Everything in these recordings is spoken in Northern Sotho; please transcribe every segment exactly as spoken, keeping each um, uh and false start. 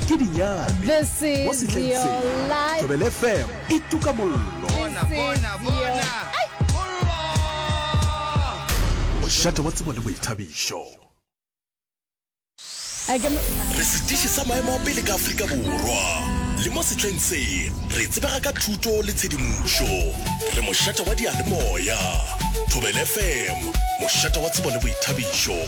Ke dinyane. This Mo is sehleng your se, life. Thobela F M e tuka mollo. This is your Mošate wa tsebo le boithabišo. Ai, ke mo- Re setiši sa maemo a pele ka Afrika Borwa. Le mo sehleng se, re tsebega ka thuto le tshedimošo. Re mošate wa diyalemoya. Thobela F M, mošate wa tsebo le boithabišo.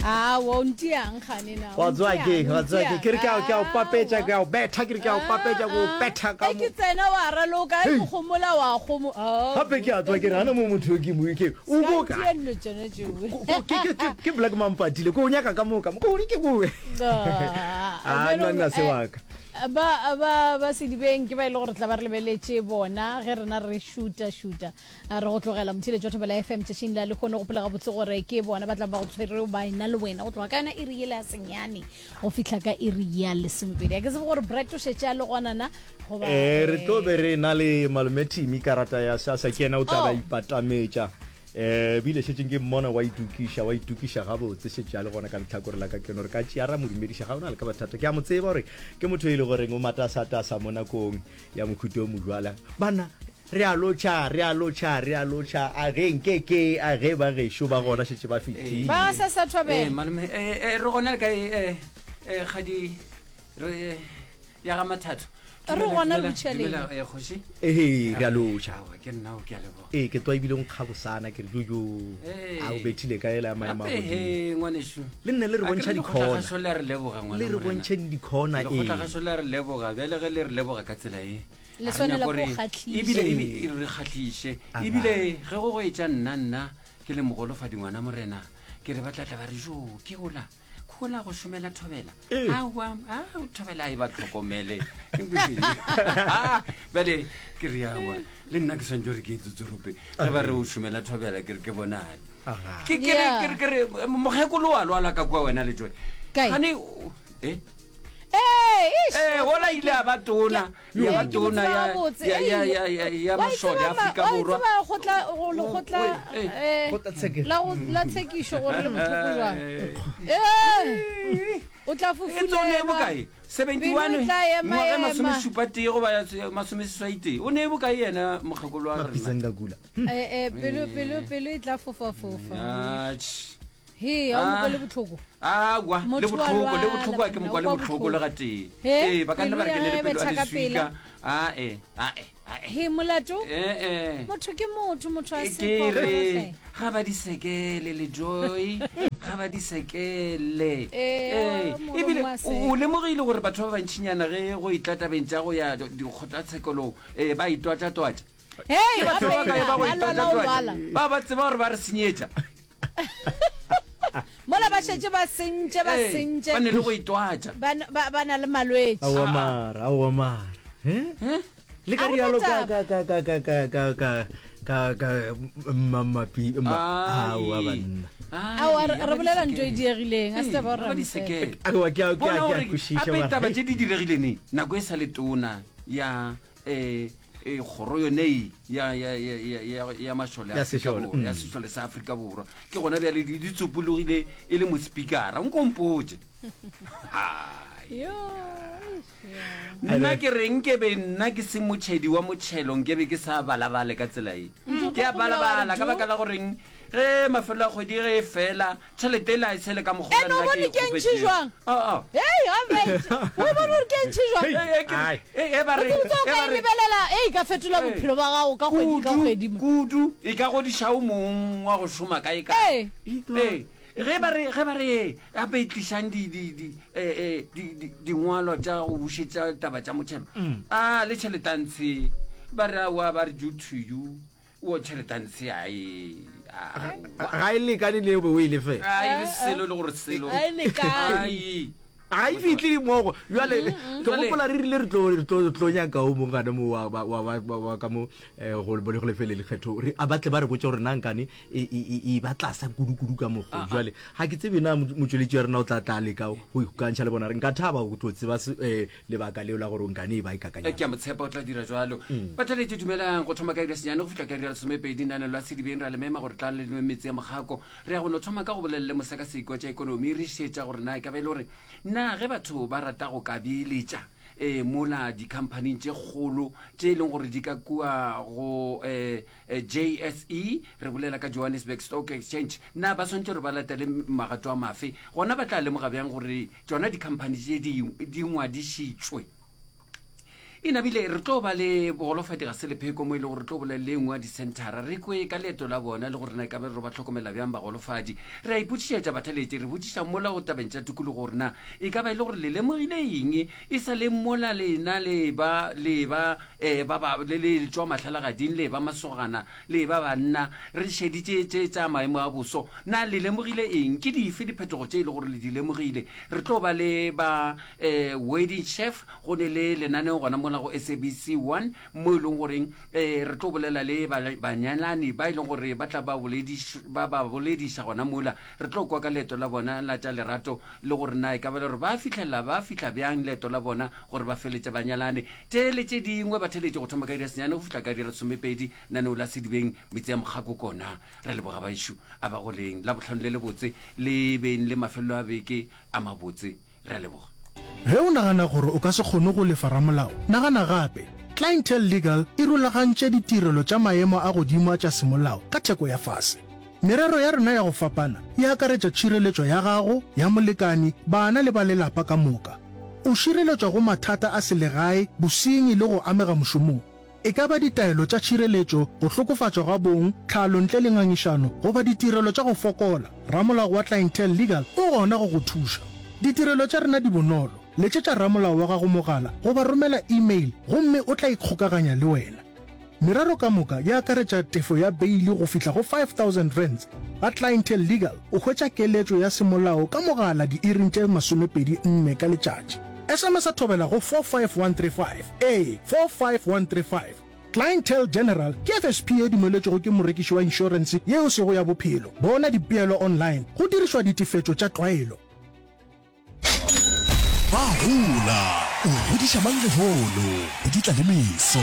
Aowa, o ntiang gane na, o Wa tseba ntiang, ke, o wa tseba ke, ntiang. ke re ke a, ke a o papetša, ke a o betha, ke re ke a o papetša, ke o betha ka Ge mo. ke tsena wa raloka, ge Hei. ke gomola wa gomo. Gape ke a tswa ke re gana mo motho yo ke mo ke o Ska ko kae? ntia dilo tšona tšeo. Ko- ko- ke ke ke ke Black Mampatile, ko o nyaka ka mo ka mo, ko ke ko. Ah, Ah, bjale nna nna o- se eh, wa ka. ba ba ba sedibeng ke ba e le gore tla ba re lebeletše bona ge rena re šuta šuta A re go tlogela motheeletši wa Thobela F M tšatšing la lehono. Gopola gabotse gore ke bona ba tla ba go tshwere ba ena le wena go tloga ka yona iri yela ya senyane go fihla ka iri ya lesomepedi. A ke tsebe gore Brett o šetše a le gona na goba Eh, re tlo be re na le malome Timmy karata ya SASSA, ke yena o tla ba Oh. ipatametša. Eh, bile šetšeng ke mmona wa itokiša, wa itokiša gabotse, šetše a le gona ka lehlakore la ka keno. Re ka tšea ra mo dumediša, ga o na le ka bothata. Ke a mo tseba gore ke motho e le goreng o matasatasa mo nakong ya mohuta o mojwala. Bana, re a lotšha, re a lotšha, re a lotšha. A ge nke ke, a ge ba gešo ba gona šetše ba fetile. Ba sa sa thobela. Eh, malome, eh, eh, re gona le kae, eh, eh, kgadi, re, ya ga Mathatho. Re Dumela, gona dumela, lotšha lena. dumela, eh, kgoši. Ee, re a lotšha. Aowa, ke nna o, ke a leboga. Ee, ke twa ebile o nkga bosana, ke re jo, jo. Ee. A o bethile ka ela ya maemo a Gape, godimo. he, ngwanešu. Le nne le re A ke bontšha re dikhona. lekgotlagašo le a re leboga, ngwana Le re morena. bontšheng dikhona, ee. Lekgotlagašo le a re leboga, bjale ge le re leboga ka tsela e, Le a re swanela nyako ke go re kgahliša. ebile, Ee. ebile, e re kgahliše. Aga. Ebile ge go go etša nna, nna ke le mogolofadi ngwana morena, ke re ba tla tla ba re, jo, ke ola, ke ola go šomela thobela. Ee. Aowa, ao, thobela a e ba tlhokomele. Bjale ke re aowa, le nna ke swantse gore ke etsotserope. Ge ba re o šomela thobela, ke re ke bonane. Aga. Ke, ke re, Yeah. ke re, ke re, mokgekolo wa lwala ka kua wena le Joy. Kae? Gane, o, eh? Ee, eish. Eh, ola ile a ba tona, ya ba Ee, ke mo tona tseba ya, gabotse. ya, ya, Ei, ya, ya, ya wa e mašole tseba a ma- Afrika wa e Borwa. tseba kgotla, go lekgotla, Oi, eh. eh, Kgotlatshekelo. la go, la tshekišo gore le bohloko jwang. Eh. Eh, o tla E tsone e fufulelwa. bokae? seventy-one, Pelo e tla ema, ngwaga e ema. masomešupa tee goba ya tse-, masomeseswai tee. O ne e bokae yena mokgekolo wa rena? Mapitsang ka kula. Eh, eh, pelo, pelo, pelo e tla fofa-fofa. Atjhe. He, ha o Ah. mokwe le bohloko. Aowa, le Motho wa bohloko, le lwala, bohloko a ke banna, mokwa o le kwa bohloko le bohloko. gatee. He, Ee, ba ka nna ba re ke pelo ne ya le gagwe e pelo ya betha ka leswika. pela. Ah, eh, ah, eh, ah, eh. He, molato? Eh, eh. Motho ke motho, motho a E se ke phoofolo re, hle. ga ba di sekele le Joy, ga ba di sekele. Eh, Eh, molomo ebile wa o, seka. o lemogile gore batho ba bantšinyana ge go etla tabeng tša go ya dikgotlatshekelong, eh, ba itwatša-twatša. Hei, Ke batho ba gape kae ba go ba lwala o itwatša-twatša? lwala. Ba ba tseba gore ba re senyetša. Mola ba šetše ba sentše, ba Ee, sentše. ba ne le go itwatša. Ba n-, ba, ba na le malwetši. Aowa mara, aowa mara. Eh? Eh? Le ka A go rialo ka, taba. ka, ka, ka, ka, ka, ka, ka, ka, ka, mmapi, mma, Ai. aowa banna. Ai, Aowa, re, a re ba bolela di ntho e sekele. diegileng, a se taba Ee, gore a ra ba di mo fela. sekele. Aowa, ke a, ke a, Bona ke a gore kwešiša gape mara. taba tše di diregile neng, nako e sa le tona ya, eh, eh, kgoro yone e ya, ya, ya, ya, ya, ya mašole a Ya Afrika sešole, Borwa, ya mm. sešole sa Afrika Borwa. Ke gona bjale di, di tsopologile e le mospikara. Nko mpotše. Hai. Yo, eish, ya. Nna ke re nke be nna ke se motšhedi wa motšhelo, nke be ke sa balabale ka tsela e. Ntho Ke a tlo gopola wa re balabala ka jo. baka la goreng ge mafelo a kgwedi ge e fela, tšhelete e la e tshele ka mokgwa Ene o nna ke bone e ke ntšhi kgopetšego. jwang? Ah, ah. Hei, a bet. O bone gore ke ntšhi jwang? Eh, eh, ke re, Ai. eh, eh, ba re, O tsebe o eh, ka ba e re. lebelela, eh, e ka fetola Eh. bophelo ba gago ka kgwedi ka Kudu, kgwedi mo. kudu, e ka godiša o mong wa go šoma kae kae. Eh. Eh, ge ba re, ge ba re, gape e tlišang di, di, di, eh, eh, di, di, dingwalo tša go bušetša taba tša motšhelo. Mm. Ah, le tšhelete a ntshe. Ba re, aowa, ba re due to you. O tšhelete a ntshe, ai, aowa. Ga e lekane le eo be o e lefela. Ai, le selo le gore selo. Ga e lekane. Ai. Ga e fihle mogo bjale ke Jwale- gopola re rile re tlo re tlo tlo nyaka o mongwe gane mo wa wa wa wa- wa ka mo eh, go bo le go lefele lekgetho re a batle ba re botse gore na nkane e e e- e ba tlasa kudu-kudu ka mokgo jwale ga ke tsebe na mo- motšweletši wa rena o tla tla leka go ikgokantšha le bona re nka thaba go tlo tseba se- eh, lebaka leo la gore nkane e ba e Eh, kakanya ke a motshepa o tla dira jalo batheletše dumelang go thoma ka iri ya senyane go fihla ka iri ya lesomepedi nanelo la sedibeng ra le mema gore tla le nwe metse ya mogako re ya go no thoma ka go bolelele mosekaseki wa tša ikonomi re šetša gore na e ka ba e le gore na ge batho ba rata go ka beeletša um mola dikhamphaning tše kgolo tše e leng gore di ka kua go um J S E, re bolela ka Johannesburg Stock Exchange, na ba swantše gore ba latele magato a mafe? Gona ba tla lemoga bjang gore tšona dikhamphani tše di di ngwadišitšwe? E nabile re tlo ba le bogolofadi ga se lepheko mo e le gore re tlo bolela le engwe ya disenthara re kwe ka leeto la bona le gore na e ka be re ba tlhokomela bjang bagolofadi. Re a ipotšišetša batheletši, re botšiša mola go tabeng tša tikologo gore na e ka ba e le gore le lemogile eng e sa le mola lena le ba le ba eh, ba ba le le tšwa mahlalagading le ba masogana le ba banna re šeditše tše tša maemo a boso, na le lemogile eng? Ke dife diphetogo tše e le gore le di lemogile? Re tlo ba le ba eh, wedding chef go ne le lenaneo gona mola go S A B C one mo e leng goreng eh, re tlo bolela le ba-, banyalani ba e leng gore ba tla ba bolediš-, ba ba bolediša gona mola. Re tlo kwa ka leeto la bona la tša lerato le gore na e ka ba le gore ba fihlela, ba fihla bjang leeto la bona gore ba feletse banyalane. Tše le tše dingwe ba theletše go thoma ka iri ya senyane go fihla ka iri ya lesomepedi naneo la Sedibeng metse ya Mokgako kona. Re leboga baešo a ba goleng la bohlano le lebotse le beng le mafelelo a beke a mabotse. Re a leboga. Ge o nagana gore o ka se kgone go lefa ramolao, nagana gape. Clientele Legal e rulagantše ditirelo tša maemo a godimo a tša semolao ka theko ya fase. Merero ya rena ya go fapana e akaretša tšhireletšo ya gago, ya molekani, bana le ba lelapa ka moka. O šireletšwa go mathata a selegae, bosenyi le go amega mošomong. E ka ba ditaelo tša tšhireletšo, go hlokofatšwa ga bong, tlhalo ntle le ngangišano, goba ditirelo tša go fokola, ramolao wa Clientele Legal o gona go go thuša. Ditirelo tša rena di bonolo. Letšetša ramolao wa gago mogala goba romela email gomme o tla ikgokaganya le wena. Merero ka moka e akaretša tefo ya beili go fihla go five thousand rands. Ga Clientele Legal o hwetša keletšo ya semolao ka mogala diiring tše masomepedi nne ka letšatši. S M S a thobela go four five one three five. Ee, four five one three five. Clientele General ke F S P e dumeletšwego ke morekiši wa inšorense yeo sego ya bophelo. Bona dipeelo online go dirišwa ditefetšo tša tlwaelo. Ba gola, o godiša mang lehono, go di tla le meso.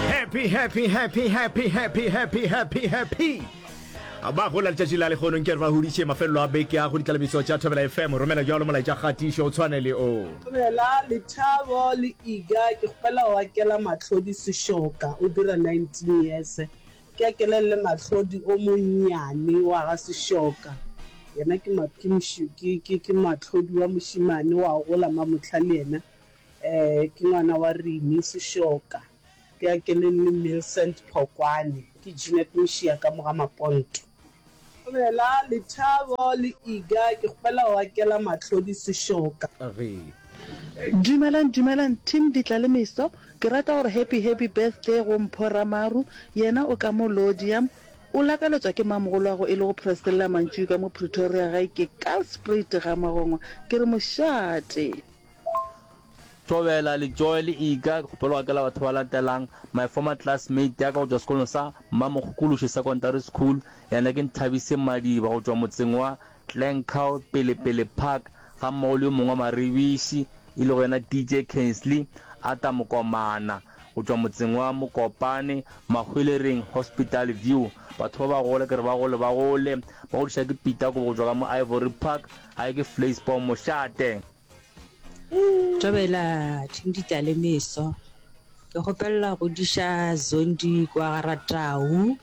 Happy, happy, happy, happy, happy, happy, happy, happy. Ba gola letšatši la lekgono nke re ba hodiše mafelelo a beke a go ditlalebiso tša Thobela F M. Romela jalo molaetša kgatišo o tshwane le o. Thobela, Lethabo le Iga, ke kgopela go akela Mahlodi Sešoka, o dira nineteen years. Ke akelele Mahlodi o monnyane wa ga Sešoka. Yena ke ma-, ke moši-, ke, ke, ke Mahlodi wa mošemane wa gola mamohla le yena. Eh, ke ngwana wa Rimi Sešoka. Ke akelele Millicent Phokwane, ke Jeanette Mošia ka moga Maponto. Thobela, Lethabo le Iga, ke kgopela go akela Mahlodi Sešoka. Ge. Dumelang, dumelang team Ditla le Meso. Ke rata gore happy happy birthday go Mpho Ramaru. Yena o ka mo Lodium. O lakaletswa ke mamogolo e le go Priscilla Mantšu ka mo Pretoria gae ke Karlspruit ga Magongwa. Ke re mošate. Thobela le Joy le Iga, ke kgopela go akela batho ba latelang. My former classmate ya ka go tšwa sekolong sa Mmamokgokološi Secondary School, yena ke Nthabise Madiba go tšwa motseng wa Glencoe Pele-Pele Park, ga mmogo le yo mongwe wa Maribiši e lego yena D J Kensley Ata Mokomana go tšwa motseng wa Mokopane Mahwelereng Hospital View. Batho ba ba gole ke re ba gole ba gole ba godiša ke Peter Kobo go tšwa ka mo Ivory Park, gae ke Vleisboom Mošate. Thobela team Ditla le Meso. Ke kgopela go godiša Zondi kwa Garatau.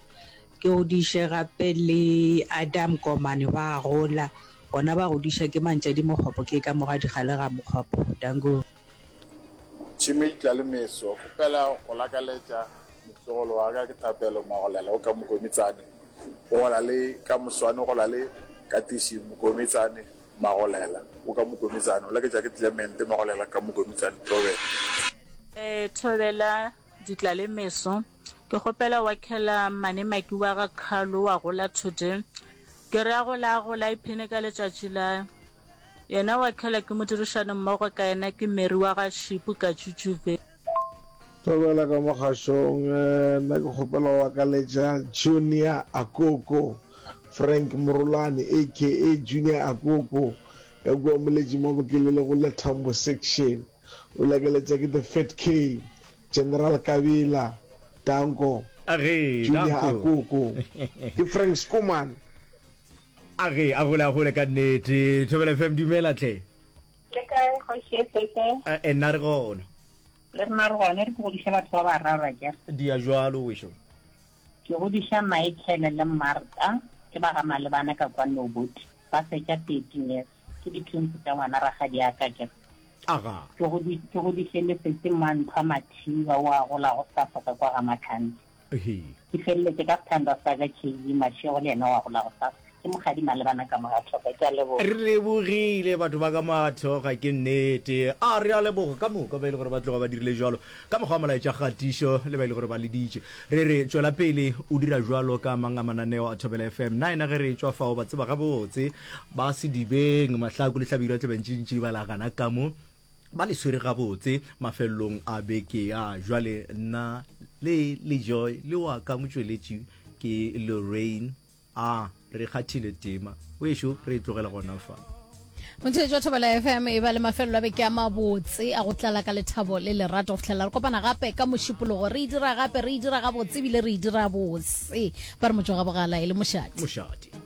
Ke godiše gape le Adam Komane ba gola. Bona ba godiša ke Mantšadi Mokgopo ke ka moga digale ga Mokgopo. Danko. Team Ditla le Meso, kgopela go lakaletša motlogolo wa ka ke Thapelo Magolela o ka Mokometsane. O gola le ka moswane, o gola le Katiši Mokometsane Magolela o ka Mokometsane. O laketša ke Clement Magolela ka Mokometsane. Thobela. Eh, Thobela Ditla le Meso. Ke kgopela wa khela mane maki wa ga Khalo wa gola today. Ke re a gola a gola iphene ka letšatši la Yena wa khela ke modirišani mmogo ka yena ke Mary wa ga Šipu ka Tšutšuve. Thobela ka mogašong, nna ke kgopela go akaletša Junior Akoko, Frank Morolane aka Junior Akoko ka kua Moletši Mabokelele go Lethambo Section. O lakaletša ke The Fat K, General Kabila, Danko, Age, Junior Danko. Akoko. Ke Frank Schoeman. Age, a gole a gole ka nnete. Thobela F M dumela tlhe. Le kae kgoši e sese? Eh, nna re gona. Le rena re gona, re ke godiša batho ba bararo akere. Dia jwalo wešo. Ke godiša Michael le Martha, ke ba ga Malebana ka kwa Noboti. Ba fetša thirteen years. Ke di-twins tša ngwana rakgadi ya ka akere. Aga. Ke godi-, ke godiše le sesi Manthwa Mathiba o a gola go Safa ka kwa ga Matlhante. Ehe. Ke feleletše ka sethandwa sa ka K V Mashego le yena o a gola go Safa. Ke mokgadi Malebana ka Mogathoka, ke a leboga. Re lebogile batho ba ka Mogathoka, ke nnete. A re a leboga ka moka ba e le gore ba tloga ba dirile jwalo ka mokgwa wa molaetša kgatišo le ba e le gore ba leditše. Re re tšwela pele o dira jwalo ka mang a mananeo a Thobela F M. Nna ena ge re tšwa fao ba tseba gabotse ba Sedibeng, Mahlaku le Hlabirwa Tlebentšintši ba la gana ka mo ba le swere gabotse mafelelong a beke ya jwale. Nna le le Joy le wa ka motšweletši ke Lorraine. A re kgathile tema wešo, re e tlogela gona fa. Motheetši wa Thobela F M e ba le mafelelo a beke a mabotse a go tlala ka lethabo le lerato go fihlela re kopana gape ka mošupologo. Re e dira gape, re e dira gabotse ebile re e dira bose. Ba re motšwa ga bogala e le mošate. Mošate.